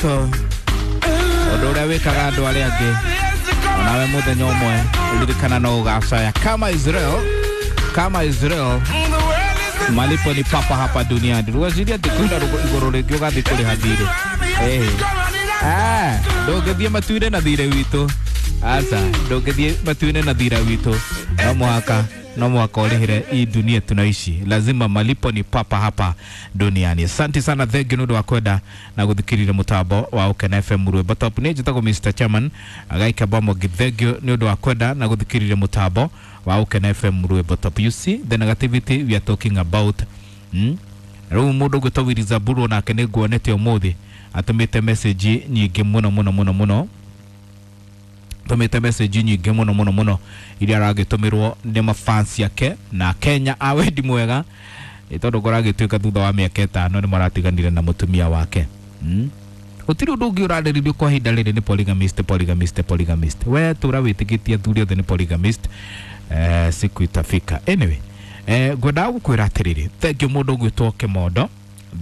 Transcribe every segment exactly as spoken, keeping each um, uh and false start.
Ũndũ ũrĩa wĩkaga andũ arĩa angĩ onawe mũthenya ũmwe ririkana no ũgacaya. Kama Israel, kama Israel, malipo ni papa hapa duniani. Rweciria atĩ kwĩna igũrũ rĩngĩ ũgathiĩ kũrĩha thirĩ. Ah, ndũngĩthiĩ matu-inĩ na thirĩ witũ. Aca, ndũngĩthiĩ matu-inĩ na thirĩ witũ. No mũhaka no mwaka ũrĩhĩre hii dunia tunaishi, lazima malipo ni papa hapa duniani. Asante sana, thank you nĩ ũndũ wa kwenda na gũthikĩrĩria mũtambo wa Ũkena F M Rwĩmbo Top. Niĩ njĩtagwo Mister Chairman Agaika Bomo, thank you nĩ ũndũ wa kwenda na gũthikĩrĩria mũtambo wa Ũkena F M Rwĩmbo Top. You see the negativity we are talking about. Hmm? Rĩu mũndũ ũgwĩtwo Willy Zaburu nake nĩ nguonete ũmũthĩ atũmĩte message nyingĩ mũno mũno mũno mũno, tumite message nyingĩ mũno mũno mũno iria aragĩtũmĩrwo nĩ mafans yake na Kenya a wendi mwega, tondũ kũragĩtuĩka thutha wa mĩaka ĩtano nĩ maratiganire na mũtumia wake. Mm? Gũtirĩ ũndũ ũngĩ ũrarĩrĩrio kwa ihinda rĩrĩ nĩ polygamist, polygamist, polygamist. We tũra wĩtĩkĩtie athuri othe nĩ polygamist, eh, siku itafika. Anyway, eh, ngwendaga gũkwĩra atĩrĩrĩ, thank you mũndũ ũgwĩtwo Kĩmondo,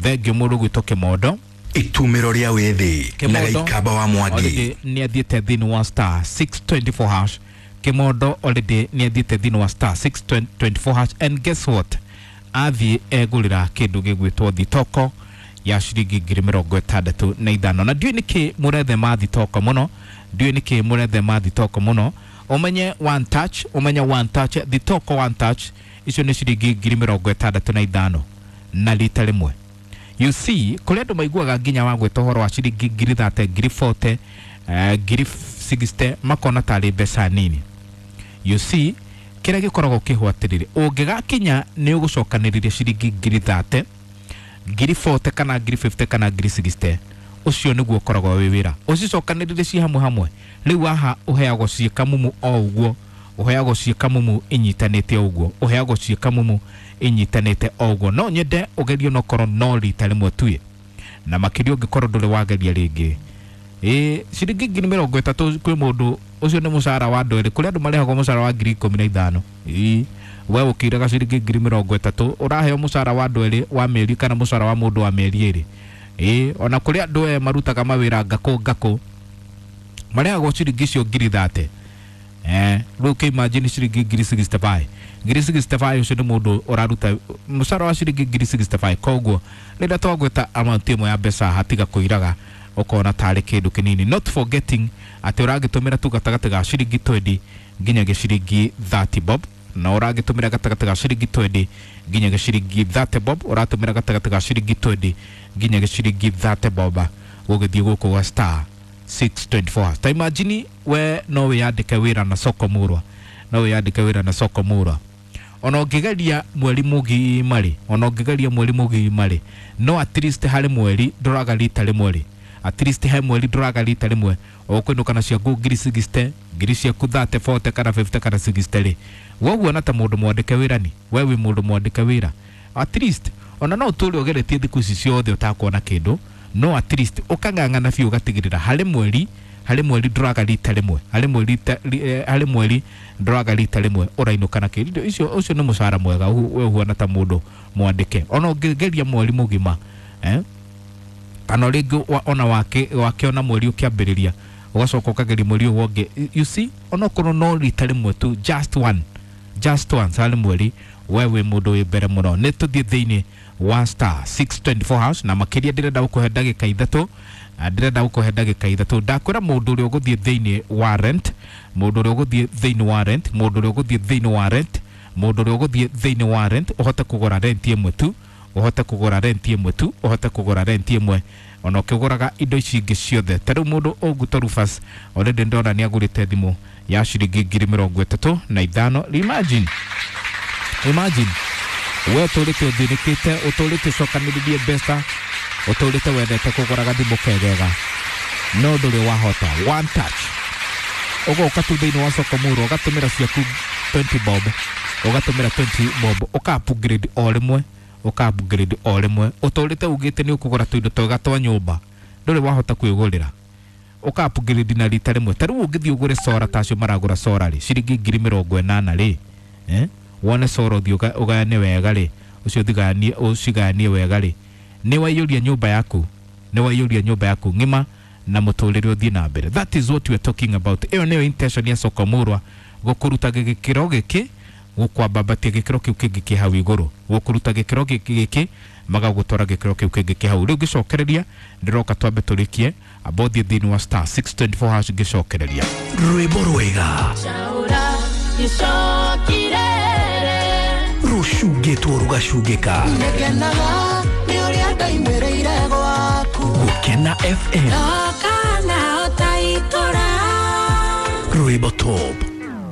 thank you mũndũ ũgwĩtwo Kĩmondo. Itumiro ria withi na Gĩikamba wa Mwangi nĩ athiĩte thĩinĩ wa star six twenty four hash. Kĩmondo already nĩ athiĩte thĩinĩ wa star six twenty four hash, and guess what, athiĩ egũrĩra kĩndũ gĩgwĩtwo thitoko ya ciringi ngiri mĩrongo ĩtandatũ na ithano. Na ndiũĩ nĩkĩ mũrethema thitoko mũno, ndiũĩ nĩkĩ mũrethema thitoko mũno. Ũmenye one touch, ũmenye one touch, thitoko one touch icio nĩ ciringi ngiri mĩrongo ĩtandatũ na ithano na rita rĩmwe. You see, kũrĩa andũ maiguaga nginya wa gwĩta ũhoro wa ciringi ngiri thate, ngiri forty, uh, ngiri sixty, makona tarĩ mbeca nini. You see, kĩrĩa gĩkoragwo kĩho atĩrĩrĩ, ũngĩgakinya nĩ ũgũcokanĩrĩria ciringi ngiri thate, ngiri forty kana ngiri fifty kana ngiri sixty, ũcio nĩguo ũkoragwo wĩ wĩra. Ũcicokanĩrĩrie ci hamwe hamwe. Rĩu haha ũheagwo ciĩ kamumu o ũguo, ũheagwo ciĩ kamumu inyitanĩte o ũguo, ũheagwo ciĩ kamumu inyitanĩte o ũguo. No nyende ũgerie onokorwo no rita rĩmwe tu, na makĩria ũngĩkorwo ndũrĩ wageria rĩngĩ. Ĩ ciringi ngiri mĩrongo ĩtatũ kwĩ mũndũ ũcio nĩ mũcara wa andũ erĩ, kũrĩ andũ marĩhagwo mũcara wa ngiri ikũmi na ithano. Ĩ we ũkĩiraga ciringi ngiri mĩrongo ĩtatũ ũraheo mũcara wa andũ erĩ wa mĩeri kana mũcara wa mũndũ wa mĩeri ĩrĩ. Ĩ ona kũrĩ andũ aya marutaga mawĩra ngakũ ngakũ marĩhagwo ciringi icio ngiri thate. Eh, rĩu kĩ imagine ciringi ngiri sixty five. Ngiri sixty five ũcio nĩ mũndũ ũraruta mũcara wa ciringi ngiri sixty five. Koguo rĩrĩa twagwĩta amount ĩmwe ya mbeca hatiga kũiraga ũkona tarĩ kĩndũ kĩnini, not forgetting atĩ ũragĩtũmĩra tu gatagatĩ ga ciringi twenty nginyagia ciringi thirty bob, na ũragĩtũmĩra gatagatĩ ga ciringi twenty nginyagia ciringi thirty bob, ũratũmĩra gatagatĩ ga ciringi twenty nginyagia ciringi thirty bob gũgĩthiĩ gũkũ gwa star six twenty four. Ta imagine we no wĩyandĩke wĩra na soko murwa, no wĩyandĩke wĩra na soko murwa, ona ũngĩgeria mweri mũgima rĩ, ona ũngĩgeria mweri mũgima rĩ, no at least harĩ mweri ndũraga rita rĩmwe rĩ, at least he mweri ndũraga rita rĩmwe ũkũinũka na ciaku ngiri sixty, ngiri ciaku thirty, forty kana fifty kana sixty rĩ, woguo na ta mũndũ mwandĩke wĩra ni we wĩ mũndũ mwandĩke wĩra, at least ona no ũtũre ũgeretie thikũ ici ciothe ũtakuona kĩndũ, no at least ũkang'ang'ana biũ ũgatigĩrĩra harĩ mweri, harĩ mweri ndũraga rita rĩmwe, harĩ mweri, harĩ mweri ndũraga rita rĩmwe ũrainũka na kĩndũ icio. Ũcio nĩ mũcara mwega we ũhuana ta mũndũ mwandĩke, ona ũngĩgeria mweri mũgima, eh, kana rĩngĩ ona wake wakĩona mweri ũkĩambĩrĩria ũgacoka ũkageria mweri ũyũ ũngĩ. You see, onokorwo no rita rĩmwe tu, just one, just once harĩ mweri, we wĩ mũndũ wĩ mbere mũno. Nĩ tũthiĩ thĩinĩ wa star six twenty four hash, na makĩria ndĩrenda gũkũhe ndagĩka ithatũ, ndĩrenda gũkũhe ndagĩka ithatũ. Ndakwĩra mũndũ ũrĩa ũgũthiĩ thĩinĩ wa rent, mũndũ ũrĩa ũgũthiĩ thĩinĩ wa rent, mũndũ ũrĩa ũgũthiĩ thĩinĩ wa rent, mũndũ ũrĩa ũgũthiĩ thĩinĩ wa rent, ũhote kũgũra rent ĩmwe tu, ũhote kũgũra rent ĩmwe tu, ũhote kũgũra rent ĩmwe, ona ũkĩgũraga indo ici ingĩ ciothe. Ta rĩu mũndũ ũgwĩtwo Rufus already ndona nĩ agũrĩte thimũ ya ciringi ngiri mĩrongo ĩtatũ na ithano. Imagine, imagine we ũtũrĩte ũthĩnĩkĩte, ũtũrĩte ũcokanĩrĩrie mbeca, ũtũrĩte wendete kũgũra gathimũ kegega, no ndũrĩ wahota. One touch ũgoka tu thĩinĩ wa soko murwa ũgatũmĩra ciaku twenty bob, ũgatũmĩra twenty bob, ũka upgrade o rĩmwe, ũka upgrade o rĩmwe. Ũtũrĩte ugĩte nĩ ũkũgũra tũindo twega twa nyũmba, ndũrĩ wahota kwĩgũrĩra, ũka upgrade na rita rĩmwe. Ta rĩu ũngĩthiĩ ũgũre sora ta acio maragũra sora rĩ, ciringi ngiri mĩrongo ĩnana rĩ, eh, wone sora ũthiĩ ũgayane wega rĩ, ũcio ũthigayanie, ũcigayanie wega rĩ, nĩ waiyũria nyũmba yaku Nĩ waiyũria nyũmba yaku ng'ima na mũtũrĩre ũthiĩ na mbere. That is what we are talking about. Ĩyo nĩyo intention ya soko murwa, gũkũruta gĩkĩro gĩkĩ gũkwambambatia gĩkĩro kĩu kĩngĩ kĩ hau igũrũ, gũkũruta gĩkĩro gĩkĩ gĩkĩ magagũtwara gĩkĩro kĩu kĩngĩ kĩ hau. Rĩu ngĩcokereria ndĩroka twambe tũrĩkie, amba ũthiĩ thĩinĩ wa star six twenty four hash ngĩcokereria. Rwĩmbo rwega rũcungĩtwo rũgacungĩka. Gũkena F M.